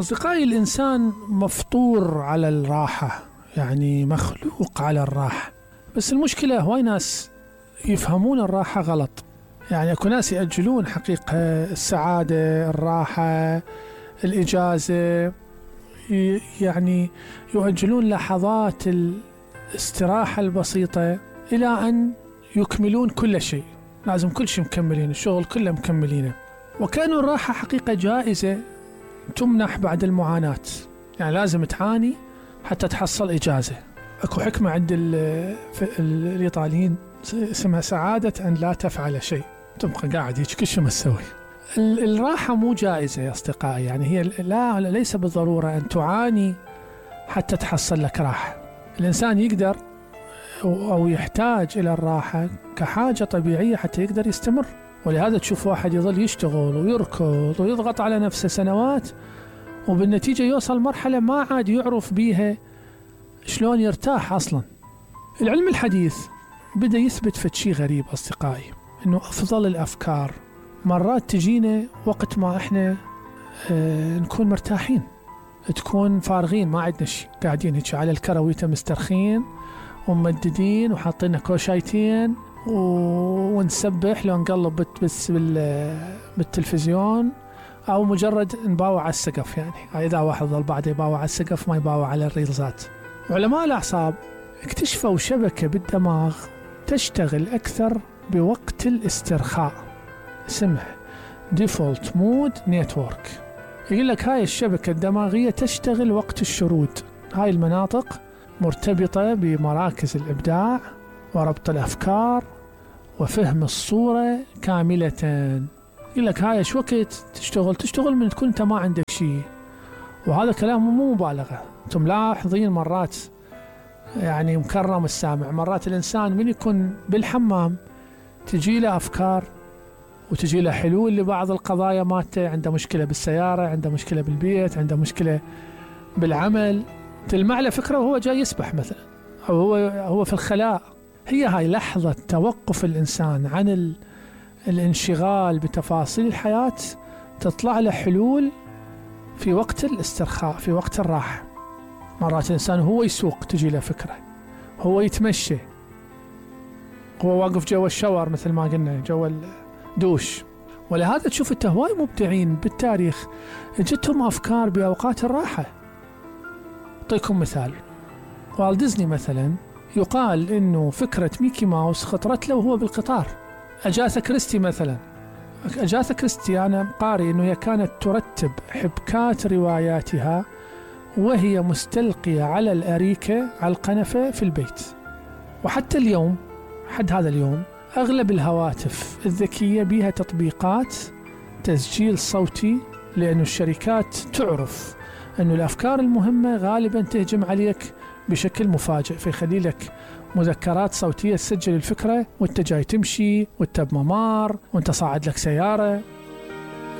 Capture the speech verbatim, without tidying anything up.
أصدقائي، الإنسان مفطور على الراحة، يعني مخلوق على الراحة. بس المشكلة هواي ناس يفهمون الراحة غلط. يعني أكو ناس يأجلون حقيقة السعادة، الراحة، الإجازة، يعني يؤجلون لحظات الاستراحة البسيطة إلى أن يكملون كل شيء. لازم كل شيء مكملين، الشغل كله مكملينه. وكانوا الراحة حقيقة جائزة تمنح بعد المعاناة، يعني لازم تعاني حتى تحصل إجازة. أكو حكمة عند الإيطاليين اسمها سعادة أن لا تفعل شيء، تبقى قاعد هيك كل شيء ما تسوي. الراحة مو جائزة يا أصدقائي، يعني هي لا ليس بالضرورة أن تعاني حتى تحصل لك راحة. الإنسان يقدر أو يحتاج إلى الراحة كحاجة طبيعية حتى يقدر يستمر. ولهذا تشوف واحد يظل يشتغل ويركض ويضغط على نفسه سنوات، وبالنتيجة يوصل مرحلة ما عاد يعرف بيها شلون يرتاح أصلا. العلم الحديث بدأ يثبت فد شي غريب أصدقائي، إنه أفضل الأفكار مرات تجينا وقت ما إحنا اه نكون مرتاحين، تكون فارغين ما عندنا شي، قاعدين هيك على الكرويته مسترخين وممددين وحاطين كوشايتين ونسبح لو نقلب بس بالتلفزيون، أو مجرد نباوع على السقف. يعني إذا واحد ظل بعده يباوع على السقف ما يباوع على الريلزات. علماء الأعصاب اكتشفوا شبكة بالدماغ تشتغل أكثر بوقت الاسترخاء، اسمها Default Mode Network. يقول لك هاي الشبكة الدماغية تشتغل وقت الشرود. هاي المناطق مرتبطة بمراكز الإبداع وربط الأفكار وفهم الصورة كاملة. يقول لك هاي ايش وقت تشتغل تشتغل من تكون انت ما عندك شيء. وهذا كلام مو مبالغة. انتم ملاحظين مرات يعني مكرم السامع، مرات الإنسان من يكون بالحمام تجي له أفكار وتجي له حلول لبعض القضايا مالته. عنده مشكلة بالسيارة، عنده مشكلة بالبيت، عنده مشكلة بالعمل، تلمع له فكرة وهو جاي يسبح مثلا، أو هو هو في الخلاء. هي هاي لحظة توقف الإنسان عن ال الانشغال بتفاصيل الحياة، تطلع له حلول في وقت الاسترخاء، في وقت الراحة. مرات الإنسان هو يسوق تجي له فكرة، هو يتمشى، هو واقف جوا الشاور مثل ما قلنا، جوا الدوش. ولهذا تشوف انت هواي مبدعين بالتاريخ جتهم أفكار بأوقات الراحة. أعطيكم مثال، والت ديزني مثلا يقال إنه فكرة ميكي ماوس خطرت له وهو بالقطار. أجاثا كريستي مثلا، أجاثا كريستي أنا قارئ إنه هي كانت ترتب حبكات رواياتها وهي مستلقية على الأريكة على القنفة في البيت. وحتى اليوم، حد هذا اليوم، أغلب الهواتف الذكية بها تطبيقات تسجيل صوتي، لأن الشركات تعرف أن الأفكار المهمة غالبا تهجم عليك بشكل مفاجئ، فيخلي لك مذكرات صوتية تسجل الفكرة وانت جاي تمشي وانت بممار وانت صاعد لك سيارة.